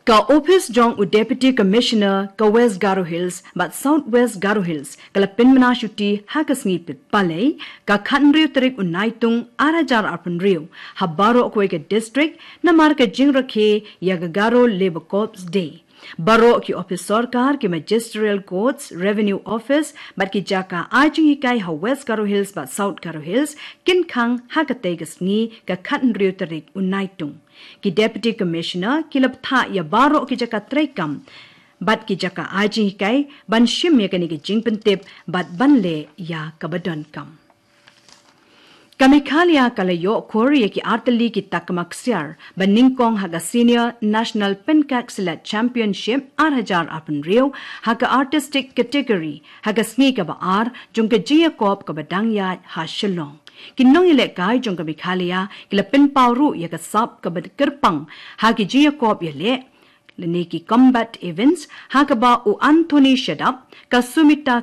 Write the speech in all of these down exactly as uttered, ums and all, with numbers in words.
Ka ophis jong u Deputy Commissioner ka West Garo Hills bad South West Garo Hills ka la pynmynna shuti ha ka sngi Palei, ka khathynriew tarik u Naitung ar hajar arphew hynriew, ha baroh kawei ka district, namar ka jingrakhe ïa ka Garo Labour Corps Day. Baroh ki ophis sorkar, ki Magisterial Courts, Revenue Office bad ki jaka ai jinghikai ha West Garo Hills bad South Garo Hills kin khang ha katei ka sngi, ka khathynriew tarik u Naitung. Ki Deputy Commissioner ki la bthah ïa baroh ki jaka treikam bad ki jaka ai jinghikai ban shim ïa kane ka jingpyntip bad ban leh ïa kaba donkam. Ka Meghalaya ka la ïoh khur ïa ki artylli ki takma ksiar ba nyngkong ha ka Senior National Pencak Silat Championship ar hajar arphew hynriew ha ka Artistic Category ha ka sngi kaba ar jong ka jingïakop kaba dang ïaid ha Shillong. Ki nongïalehkai jong ka Meghalaya ki la pynpaw ruh ïa ka sap kaba kyrpang ha ki jingïakop ïaleh lane ki combat events, ha kaba u Anthony Shadap, ka Sumita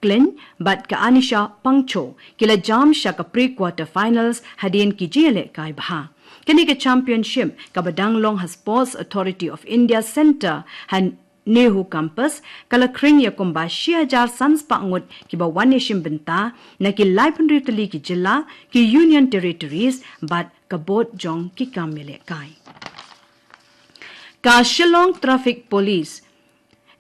Klein bad ka Anisha Pangcho ki la jam sha ka pre-quarter finals hadien ki jingïalehkai bha. Kane ka championship kaba dang long ha Sports Authority of India Centre ha NEHU Campus ka la khring ïa kumba shi hajar san spah ngut kiba wan ïashim bynta na ki laiphew hynriew tylli ki jylla, ki Union Territories bad ka bud jong ki kam ïalehkai. Ka Shillong Traffic Police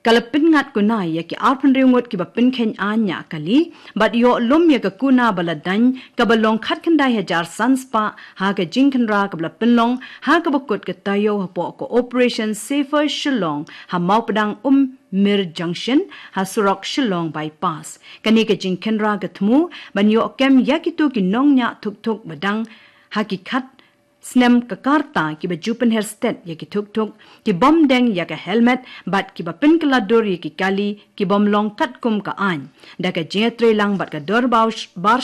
ka la pynngat kuna ïa ki arphew hynriew ngut kiba pynkheiñ aiñ ñiah kali bad ïoh lum ïa ka kuna ba la daiñ kaba long khatkhyndai hajar san spah ha ka jingkhynra kaba la pynlong ha kaba kut ka taïew hapoh ka Operation Safer Shillong ha Mawpdang Ummir Junction ha surok Shillong Bypass. Kane ka jingkhynra ka thmu ban ïoh kem ïa kito ki nongñiah thukthuk ba dang ha ki khat snem ka rta kiba ju pynher stet ïa ki thukthuk, ki bym deng ïa ka helmet bad kiba pynkylla dur ïa ki kali ki bym long katkum ka aiñ. Da ka jingïatreilang bad ka Dorbar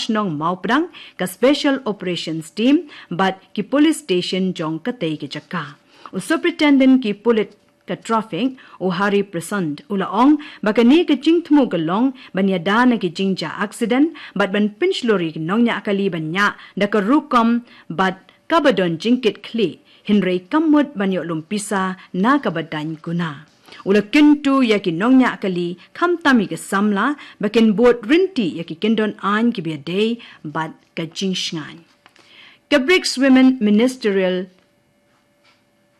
Shnong Mawpdang, ka Special Operations Team bad ki police station jong katei ka jaka. U Superintendent ki pulit ka traffic, u Hari Prasant, u la ong ba kane ka jingthmu ka long ban ïada na ki jingjia accident bad ban pynshlur ïa ki nongñiah kali ban ñiah da ka rukom bad kaba don jingkitkhlieh, hynrei kam mut ban ïoh lum pisa na kaba daiñ kuna. U la kyntu ïa ki nongñiah kali, khamtam ïa ki samla, ba kin bud ryntih ïa ki kyndon aiñ kiba ïadei bad ka jingshngaiñ. Ka BRICS Women Ministerial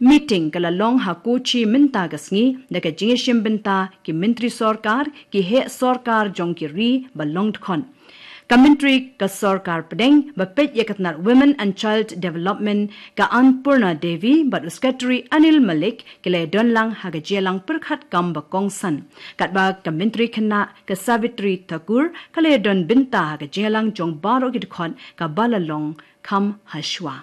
Meeting ka la long ha Kochi mynta ka sngi da ka jingïashim bynta ki myntri sorkar, ki heh sorkar jong ki ri ba long dkhot. Ka myntri ka sorkar pdeng ba peit ïa ka tnat Women and Child Development, ka Annpurna Devi, bad u Secretary Anil Malik ki la ïadon lang ha ka jingïalang pyrkhat kam ba kongsan. Katba ka myntri khynnah ka Savitri Thakur ka la ïadon bynta ha ka jingïalang jong baroh ki dkhot kaba la long kham hashwa.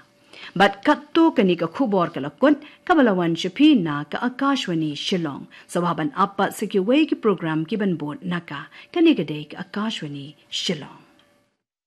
Bad katto kane ka khubor ka la kut, kaba la wan sha phi na ka Akashvani Shillong. Sa wah ban ap pat sa kiwei ki program kiban bud na ka. Kane ka dei ka Akashvani Shillong.